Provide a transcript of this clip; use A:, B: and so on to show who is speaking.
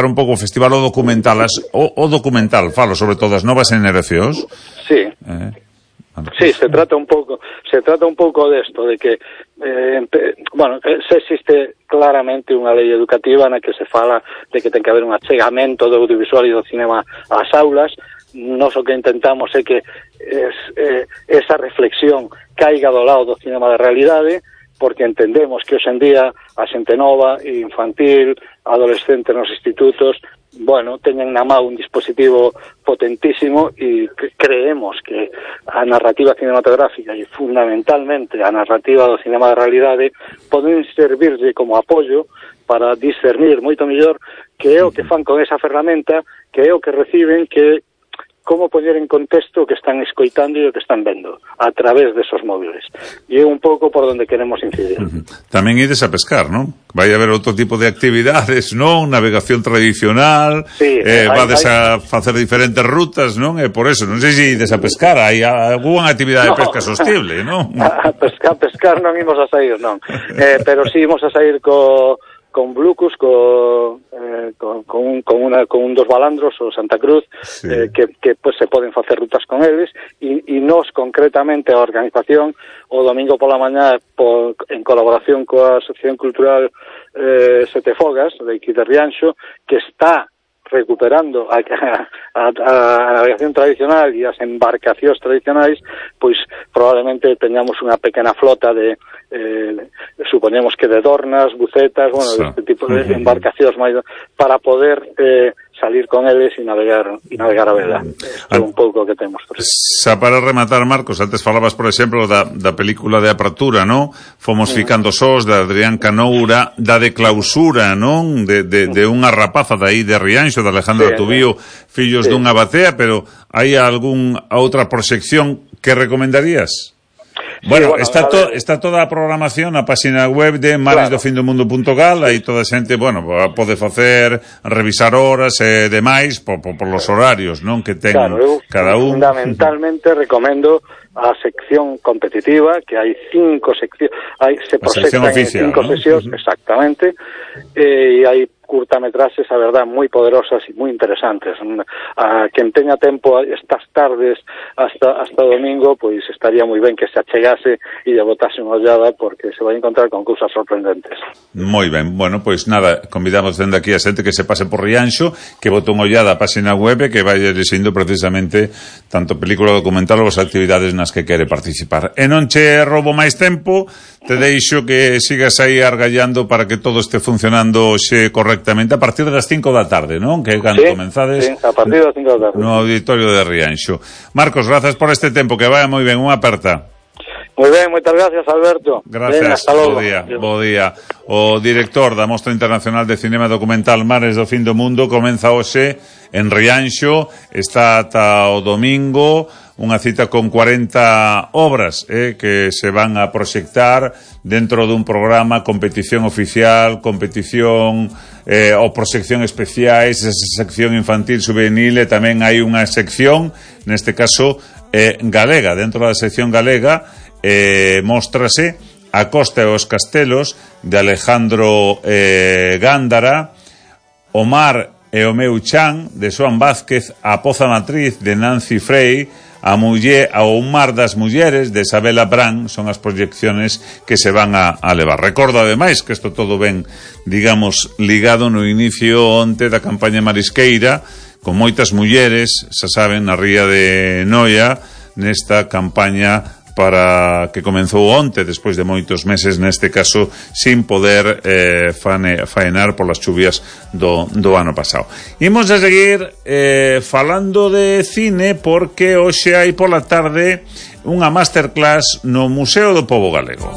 A: un pouco o festival o documental, o documental, falo sobre todo as novas generacións.
B: Sí. Sí, se trata un pouco desto, de que se existe claramente unha lei educativa na que se fala de que ten que haber un achegamento do audiovisual e do cinema ás aulas. Nos o que intentamos é que esa reflexión caiga do lado do cinema de realidade, porque entendemos que hoxe en día a xente nova, infantil, adolescente nos institutos, teñen na mão un dispositivo potentísimo e creemos que a narrativa cinematográfica e fundamentalmente a narrativa do cinema de realidade poden servirlle como apoio para discernir moito mellor que é o que fan con esa ferramenta, que é o que reciben, que como poñer en contexto o que están escoitando e o que están vendo a través desos móviles. E é un pouco por onde queremos incidir.
A: Tamén ides a pescar, non? Vai haber outro tipo de actividades, non? Navegación tradicional,
B: sí,
A: vades a facer diferentes rutas, non? E por eso, non sei se ides a pescar, hai algunha actividade de pesca sostible, non?
B: A pescar non imos a sair, non. Pero sí imos a sair con Blucus, con dos balandros, o Santa Cruz, sí. que pues, se poden facer rutas con eles, e nos, concretamente, a organización, o domingo pola mañá, en colaboración coa Asociación Cultural Sete Fogas, de aquí de Rianxo, que está recuperando a navegación tradicional e as embarcacións tradicionais, pois probablemente teñamos unha pequena flota de supoñemos que de dornas, bucetas, este tipo de embarcacións máis para poder salir con eles e navegar a vela. É un pouco o que temos.
A: Xa para rematar, Marcos, antes falabas, por exemplo, da película de apertura, non? Fomos ficando sós, da Adrián Canoura, da de clausura, non? De unha rapaza de aí de Rianxo, de Alejandro Tubío, fillos dunha batea, pero hai algunha outra proxección que recomendarías? Bueno, está toda a programación na página web de maresdofindomundo.gal, aí toda a xente, pode facer, revisar horas e demais por los horarios, non, que ten cada un.
B: Fundamentalmente recomendo a sección competitiva, que hai 5 seccións, se proxectan en 5 sesións, exactamente, e hai curtametraxes, a verdad, moi poderosas e moi interesantes. A quen teña tempo estas tardes hasta domingo, pois estaría moi ben que se achegase e lle botase unha ollada, porque se vai encontrar con cousas sorprendentes.
A: Moi ben, pois nada, convidamos dende aquí a xente que se pase por Rianxo, que bote unha ollada a página web e que vai lexendo precisamente tanto película documental ou as actividades nas que quere participar. E non che roubo máis tempo, te deixo que sigas aí argallando para que todo este funcionando xe correctamente a partir das 5 da tarde, non? Que cando comenzades
B: a partir das 5 da tarde
A: no auditorio de Rianxo. Marcos, grazas por este tempo, que vaya moi ben, unha aperta.
B: Moi ben, moitas gracias, Alberto.
A: Gracias, bo día. O director da Mostra Internacional de Cinema Documental Mares do Fin do Mundo comeza hoxe en Rianxo, está ata o domingo, unha cita con 40 obras que se van a proxectar dentro dun programa, competición oficial, competición ou proxección especiais, sección infantil, juvenil, e tamén hai unha sección, neste caso galega. Dentro da sección galega móstrase A Costa e os Castelos, de Alejandro Gándara, O Mar e o meu chan, de Xoán Vázquez, A Poza Matriz, de Nancy Frey, O Mar das Mulleres, de Isabela Brán. Son as proyecciones que se van a levar. Recordo, ademais, que isto todo ven, digamos, ligado no inicio onte da campaña marisqueira, con moitas mulleres, xa saben, na ría de Noia, nesta campaña para que comenzou onte, despois de moitos meses, neste caso, sin poder faenar polas chuvias do ano pasado. Imos a seguir falando de cine, porque hoxe hai pola tarde unha masterclass no Museo do Pobo Galego.